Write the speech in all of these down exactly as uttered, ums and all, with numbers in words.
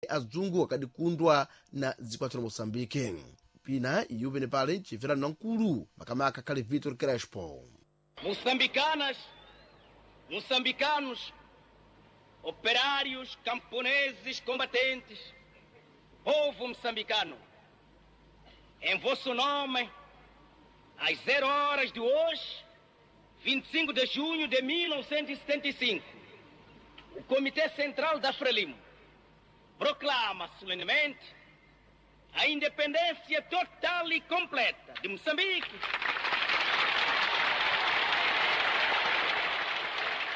Azungu akadikundwa na dziko la Moçambique. Pina iyu pene pale chimverano na mkulu makamaka khale Vitor Crespo. Moçambicanas, moçambicanos, operários, camponeses, combatentes, povo moçambicano, em vosso nome, às zero horas de hoje, vinte e cinco de junho de mil novecentos e setenta e cinco, o Comitê Central da Frelimo proclama solenemente a independência total e completa de Moçambique.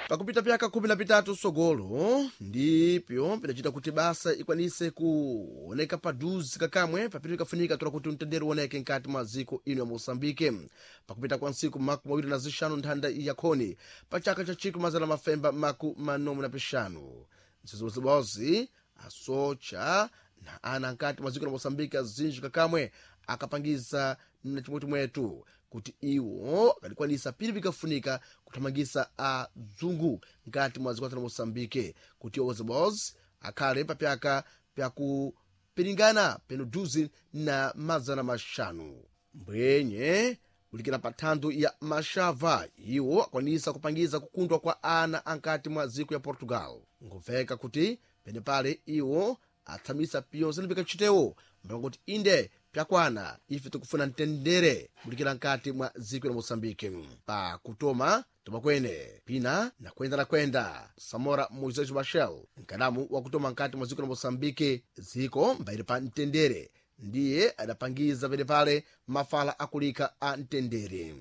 Pakupita pyaka khumi na pitatu sogolo ndipyo pidacita kuti basa ikwanise kuoneka paduzi kakamwe papiri kafunika tola kuti mtendere uoneke nkati mwa ziko ino ya Moçambique. Pakupita kwa ntsiku maku mawiri na zixanu nthanda yakhoni pa chaka cha chikwi mazana mafemba maku manomu na pixanu, mzizozibozi asocha na ana nkati mwa ziko la Moçambique azinji kakamwe akapangiza na chimwetimwetu kuti iwo akadikwanisa pili pikafunika kuthamangisa azungu nkati mwa ziko la Moçambique, kuti iwo bozi akhale papyaka pyakupiringana peno duzi na mazana maxanu mbwenye kulikira pa thandu ya Maxava. Iwo akwanisa kupangiza kukundwa kwa ana ankati mwa ziko ya Portugal. Ngubveka kuti penepale iwo athamisa piyonse lipikachitewo mbakuti inde pyakwana, ife tikufuna mtendere kulikira nkati mwa ziko la Moçambique. Pa kutoma tomakwene pina nakwenda nakwenda Samora Moisés Machel, nkadamu wakutoma nkati mwa ziko la Moçambique, ziko mbairi pa mtendere, ndiye adapangiza penepale mafala akulika a mtendere.